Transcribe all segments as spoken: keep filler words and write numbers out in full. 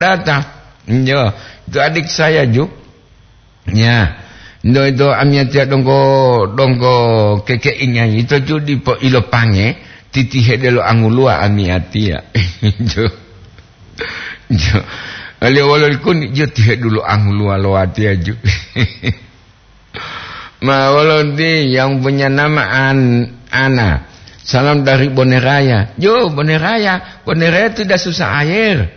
Tata, yo, itu adik saya ju. Ya, ndo itu amiyatiya donggo, donggo kekeingai itu ju dipo ilopange, titihe delo anguluwa amiyatiya. Ju. Ju. Aliyo wolo likuni, ju tihe dulu anguluwa lo watiya ju. Ma wolo nti yang punya nama An-, Ana. Salam dari Boneraya. Yo, Boneraya. Boneraya itu dah susah air.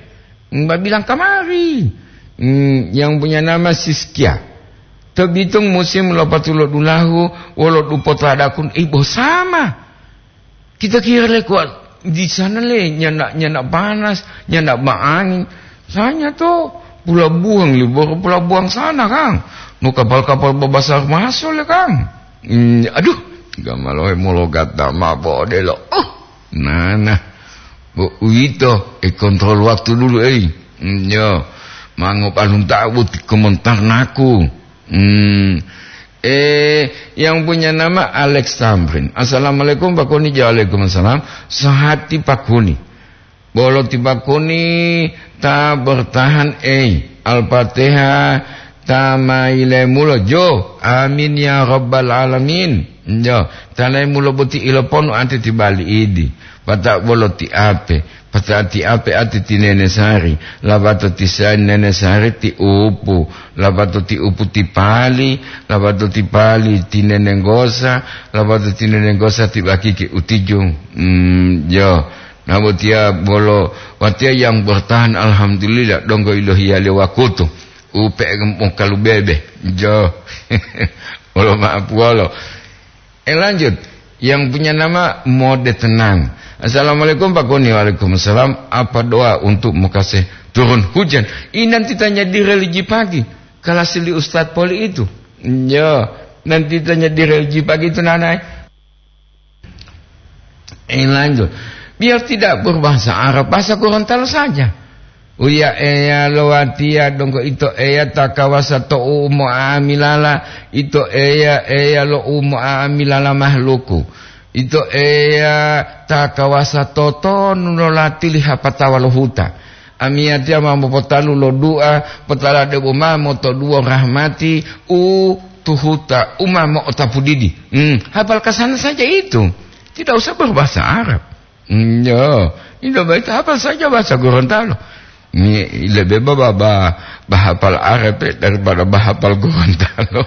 Mbak bilang kamari. Hmm, yang punya nama Siskia. Terbitung musim lopatulo dulahu, wolo dupo tadakun, eh, bosama. Kita kira le kuat di sana le, nyana, nyana panas, nyana baangin. Saya to pelabuhan libur, pelabuhan sana, Kang. No kapal-kapal babasar masuk le, Kang. Hmm, aduh, gamalohe mologat dama bodelo. Oh, nana. Bu, uwito, eh, kontrol waktu dulu, eh. Hmm, yo. Mango palunta buti komentar naku. Hmm. Eh, yang punya nama Alex Tamrin. "Assalamualaikum, Pak Koni." Waalaikumsalam. Sahati Pak Koni. Bolo ti Pak Koni ta bertahan, eh. Al-Fatihah ta mailemulo jo. Amin ya rabbal alamin. Jo, ta lemulo boti iloponu ante ti bali idi. Pata bolo ti ape. Pata'ati ape ati ti nene Sari, labato ti sa-, nene Sari ti Upu, labato ti Upu ti Pali, labato ti Pali ti nene Nggosa, labato ti nene Nggosa ti Bakiki Utiju. Hmm, jo. Nah, botiya bolo watiya yang bertahan, alhamdulillah, donggo ilohiyaliyo wakutu. Upe mokalubebe. Jo. Wolo ma'apuwolo. Eh, lanjut. Yang punya nama Mode Tenang. "Assalamualaikum, Pak Koni." "Waalaikumsalam. Apa doa untuk Mekasih turun hujan?" Ini nanti tanya di religi pagi. Kelas li Ustadz Poli itu. Ya, nanti tanya di religi pagi itu, Nanai. Eh, lanjut. Biar tidak berbahasa Arab, bahasa Gorontalo saja. Uya Eya lo watiya donggo ito Eya ta kawasa to u mo'amilala, ito Eya, Eya lo u mo'amilala mahluku. Ito Eya ta kawasa totonu lo latili hapatawa lo huta. Amiyatiya ma mopotalu lo du'a, potala debo ma motoduwo rahmati u tuhuta, u ma mo'otapu didi. Hmm, hafal kasana saja itu. Tidak usah berbahasa Arab. Hmm, ya, ini baik apa saja bahasa Gorontalo. Ini lebih ba-, ba-, ba-, bahapal Arab, eh, daripada bahapal Gorontalo.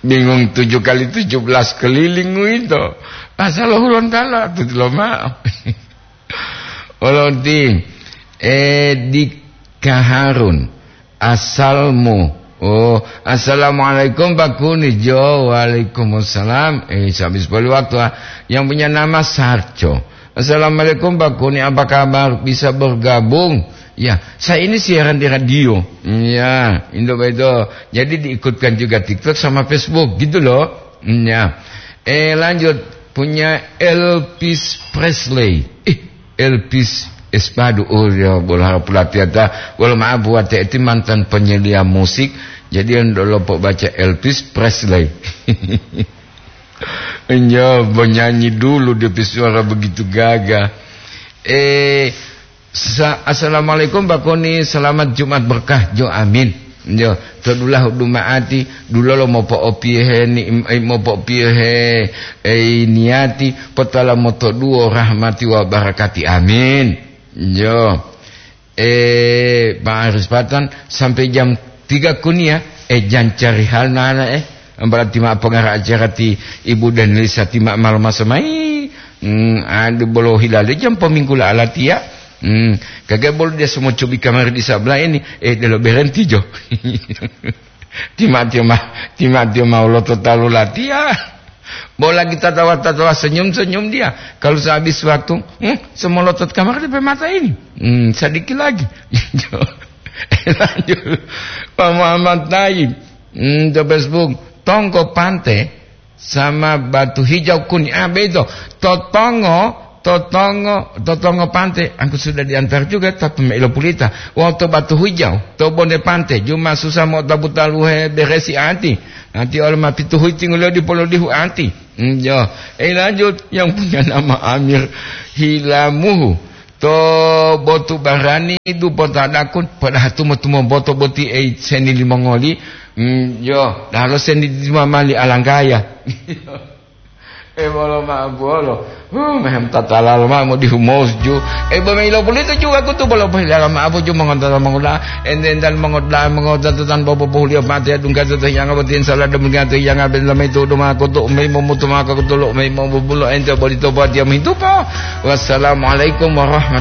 Bingung tujuh kali tujuh belas keliling itu. Bahasa lo Gorontalo, itu lo mau. Olonti, eh, di Kaharun. Asalmu. Oh, "Assalamualaikum, Pak Kuni." Jo, "Waalaikumsalam." Eh, habis poli waktu, ah. Yang punya nama Sarco. "Assalamualaikum, Pak Kuni. Apa kabar? Bisa bergabung?" Ya, saya ini siaran di radio. Ya, Indo Bedo. Jadi diikutkan juga TikTok sama Facebook, gitu loh. Ya. Eh, lanjut. Punya Elvis Presley. Ih, Elvis Espadu, oh, ya, bola harap latihan ta. Wala maaf buat T T mantan penyedia musik, jadi yang dulu baca Elvis Presley. Ya, penyanyi dulu dia suara begitu gagah. Eh, sa-, "Assalamualaikum, Pak Koni. Selamat Jumat berkah." Jo, amin. Jo, to dulahu dumaati, dulolo mopo'opiyohe ni-, eh, mopo'opiyohe, eh, niyati, potala motoduwo rahmati wa barakati. Amin. Jo. Eh, Pak Aris Patan, sampai jam tiga kuniya, eh, jan cari hal nana, eh. Berarti ma pengara acara ti Ibu dan Lisa ti ma malam masa mai. Hmm, adu bolo hilale jam peminggu la alatiya. Hmm, kagak bolo dia semua cubi kamar di sebelah ini. Eh, dia lo berhenti jo. Tima-tima, tima-tima ulo to talu latiya. Bo lagi tatawa-tatawa, senyum-senyum dia. Kalau sehabis waktu, hmm, semolotot kamar di mata ini. Hmm, sedikit lagi. Lanjut. Pak Muhammad Taib. Hmm, to Facebook. Tongko Pante sama Batu Hijau Kuning. Ah, begitu. Totongo, totongo, totongo Pante. Aku sudah diantar juga, tapi mailo pulita. Wau to Batu Hijau, to Bonde Pante. Juma susah mau tabu taluhe beresi ati. Nanti oleh ma pitu huiting lo di polo dihu ati. Hmm, yo. Eh, lanjut. Yang punya nama Amir Hilamuhu. to botu barani dupota dakun, padahal tumo-tumo boto boti ei seni limongoli. Hmm, yo, dalo seni di mama li alanggaya. E bolo ma bolo. Huh, mehem tatala lo ma mo di humos ju. E bo me ilo pulito ju aku tu bolo pohilala ma apo ju mongontala mongola. Enten dan mongoda mongoda tan bobo pohulio mate dungka to yang abatin salah demikian to yang abin lamai tu duma aku tu mei momutu maka aku tu lo mei momubulo ente boli to buat dia mintupa. Wassalamualaikum warahmatullahi